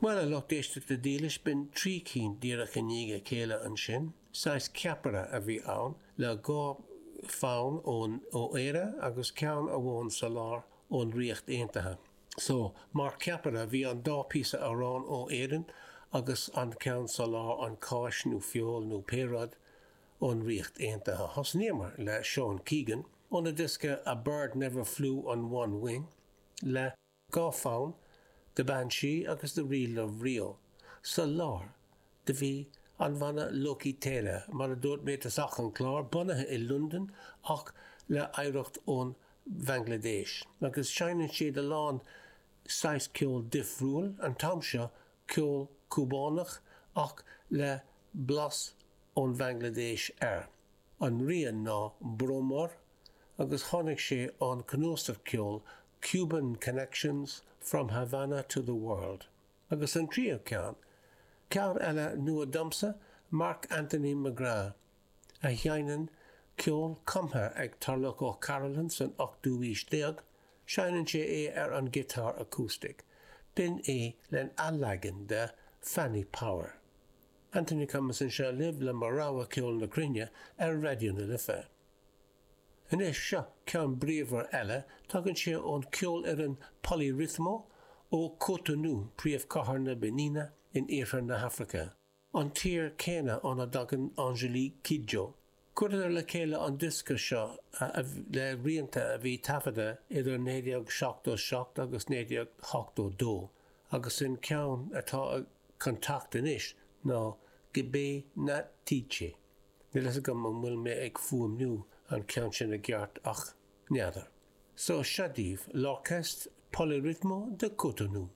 Bhuel, a lucht éisteachta dílis, b'in 3 cinn díreach i ndiaidh a chéile ansin. Saghas ceapaire a bhí ann, le 2 fonn ón ó Éire agus ceann amháin sa lár ón Ríocht Aontaithe. So, mar cheapaire, bhí an dá píosa amhráin ó Éirinn agus an ceann sa lár, an cáis nó feoil nó pé rud, ón Ríocht Aontaithe. Thosnaíomar le Seán Keegan, óna diosca A Bird Never Flew on One Wing, le. 2 fonn, The Banshee agus The Reel of Rio. Sa lár, do bhí an bhanna Loki Tela, mar a dúirt mé i dtosach an chláir, bunaithe i Londain ach le hoidhreacht ón Bhanglaidéis. Agus seinneann siad a lán saghas ceol difriúil, an t-am seo ceol Cúbánach ach le blas ón Bhanglaidéis air. An rian ná Bromor agus tháinig sé ón cnuasach ceoil Cuban Connections, From Havana to the World. Agus an tríú ceann, ceann eile nua domsa, Mark Anthony McGrath, a sheinneann ceol cumtha ag Tarlach O'Carolan san ochtú aois déag, seinneann sé é ar an giotár acoustic. B'in é len athleagan de Fanny Power. Anthony Cummins anseo libh le mo rogha ceol na cruinne ar Raidió na Life. Anois, seo ceann bríomhar eile, tagann sé ón ceolfhoireann Poly-Rythmo ó Cotonou, príomhchathair na Beníne in iarthar na hAfraice, an tír céanna óna dtagann Angélique Kidjo. Chuireadar le chéile an diosca seo le rianta a bhí taifeadta idir 1977 agus 1982 agus an ceann atá chun teacht anois ná Gbé Na Tché. Níl fhios agam an bhfuil mé ag fuaimniú an ceann sin i gceart ach n'fheadar. So, seo daoibh, L'Orchestre Poly-Rythmo de Cotonou.